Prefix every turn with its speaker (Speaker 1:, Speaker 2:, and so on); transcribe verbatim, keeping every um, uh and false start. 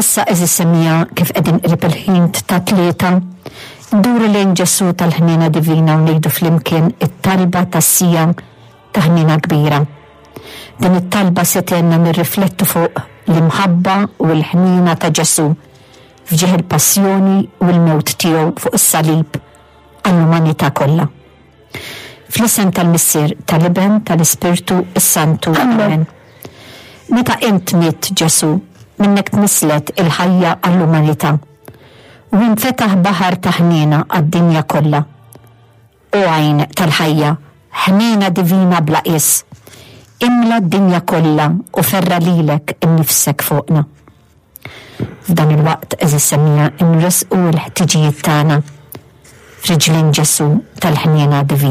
Speaker 1: Issa, għeżież semmiegħa, kif qegħdin qrib il-ħin ta' tlieta, nduru lejn Ġesù tal-ħniena divina u ngħidu flimkien it-talba tas-siegħa ta' ħniena kbira. Din it-talba se tgħinna nirriflettu fuq l-imħabba u l-ħniena ta' Ġesù f'ġieħ il-passjoni u l-mewt tiegħu fuq is-salib għall-umanità kollha. Fl-isem tal-Missier, tal-Iben, tal-Ispirtu is-Santu. Amen. Meta int mitt, Ġesù, minnek tnisslet il-ħajja għall-umanità. U infetaħ baħar ta' ħniena għad-dinja kollha. O għajn tal-ħajja, ħniena divina bla qies, imla d-dinja kollha u ferra' lilek innifsek fuqna. F'dan il-waqt, għeżież semmiegħa, nressqu l-ħtiġijiet tagħna f'riġlin Ġesù tal-ħniena divina.